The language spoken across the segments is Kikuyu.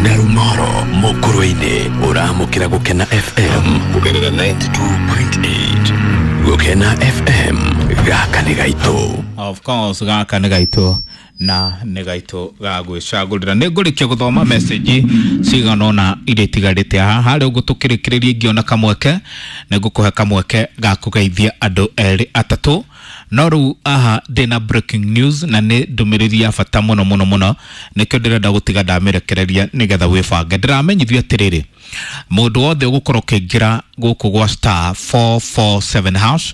Na Rumoro Mukurwe-ini uramukira Gukena FM kugerera 92.8. Gukena FM, gaka nĩ gaitũ. Of course, gaka nĩ gaitũ na nĩ gaitũ ga gwĩcagũrĩra. Nĩ ngũrĩkia gũthoma message cigana ũna iria itigarĩte haha. Harĩa ũguo tũkĩrĩkĩrĩria, ingĩona kamweke nĩ ngũkũhe kamweke ga kũgeithia andũ erĩ atatũ. No rĩu aha ndĩna breaking news, na nĩ ndũmĩrĩri ya bata mũno mũno mũno, nĩkĩo ndĩrenda gũtiga ndamĩrekereria nĩgetha wĩbange. Ndĩramenyithio atĩrĩrĩ, mũndũ wothe ũgũkorwo ũkĩingĩra gũkũ gwa *447#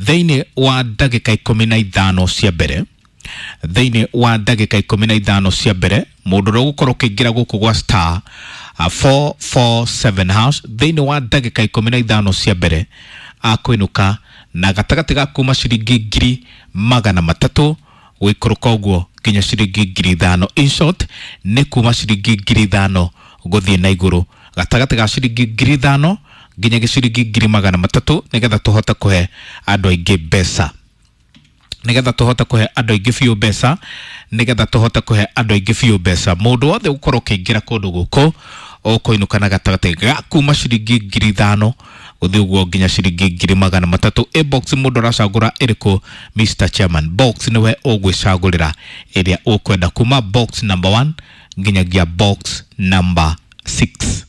thĩinĩ wa ndagĩka 15 cia mbere, thĩinĩ wa ndagĩka 15 cia mbere, mũndũ ũrĩa ũgũkorwo ũkĩingĩra gũkũ gwa *447# thĩinĩ wa ndagĩka 15 cia mbere akũinũka na gatagatĩ ga kuma ciringi 300,000 gũikũrũka ũguo nginya ciringi 5,000. In short, nĩ kuma ciringi 5,000 gũthiĩ na igũrũ, gatagatĩ ga ciringi 5,000 nginya ciringi 300,000, nĩgetha tũhote kũhe andũ aingĩ mbeca, nĩgetha tũhote kũhe andũ aingĩ biũ mbeca, nĩgetha tũhote kũhe andũ aingĩ biũ mbeca. Mũndũ wothe ũgũkorwo ũkĩingĩra kũndũ gũkũ ũkũinũka na gatagatĩ ga kuma ciringi 5,000 gũthiĩ ũguo nginya ciringi 300,000. Ĩ box mũndũ aracagũra ĩrĩkũ, Mr Chairman? Box nĩwe ũgwĩcagũrĩra ĩrĩa ũkwenda, kuma box number 1 nginyagia box number 6.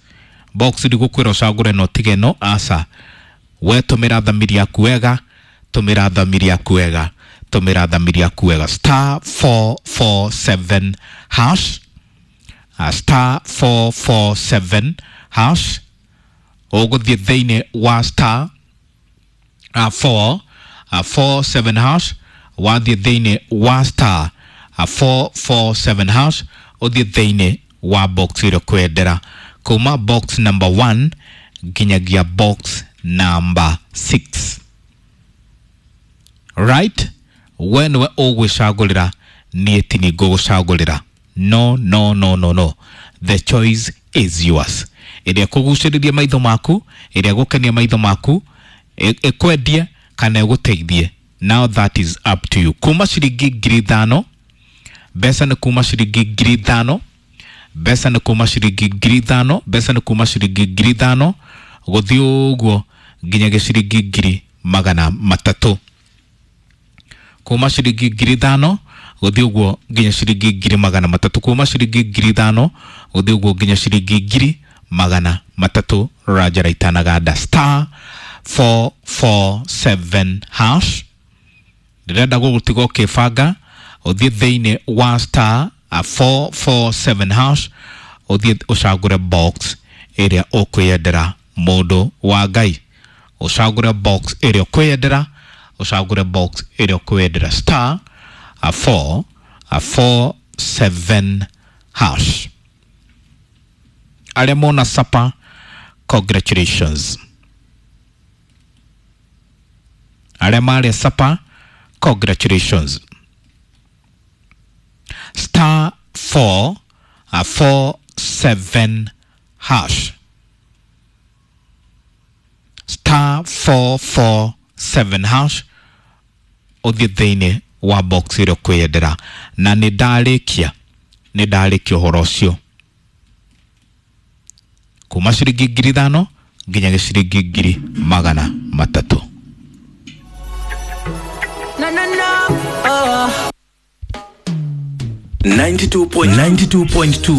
Box ndigũkwĩra ũcagũre no tige no aca, we tũmĩra thamiri yaku wega, tũmĩra thamiri yaku wega, tũmĩra thamiri yaku wega. *447#, *447#, ũgũthiĩ thĩinĩ wa *4 47#. Wathiĩ thĩinĩ wa *447#, ũthiĩ thĩinĩ wa box ĩrĩa ũkwendera, kuma box number 1 nginyagia box number 6. Right, we nĩwe ũgwĩcagũrĩra, niĩ ti ni ngũgũcagũrĩra. No, no, no, no, no, the choice is yours. Ĩrĩa kũgucĩrĩria maitho maku, ĩrĩa gũkenia maitho maku, ĩkwendie kana ĩgũteithie, now that is up to you. Kuma ciringi 5,000, mbeca nĩ kuma ciringi 5,000, mbeca nĩ kuma ciringi 5,000, mbeca nĩ kuma ciringi 5,000 gũthiĩ ũguo nginyagia ciringi 300,000. Kuma ciringi 5,000 gũthiĩ ũguo nginya ciringi 300,000, kuma ciringi 5,000 gũthiĩ ũguo nginya ciringi 300,000. Rajara itanaganda, *447#. Ndĩrenda gũgũtiga ũkĩbanga, ũthiĩ thĩinĩ wa *447#, ũthiĩ ũcagũre box ĩrĩa ũkwĩyendera. Mũndũ wa Ngai, ũcagũre box ĩrĩa ũkwĩyendera, ũcagũre box ĩrĩa ũkwĩyendera, *447#. Arĩa mona sapa, congratulations. Arĩa marĩa sapa, congratulations. *447#, *447#, ũthiĩ thĩinĩ wa box ĩrĩa ũkwĩyendera. Na nĩ ndarĩkia, nĩ ndarĩkia ũhoro ũcio, kuma ciringi 5,000 nginya ciringi 300,000. No, no, no. Oh. 92.2.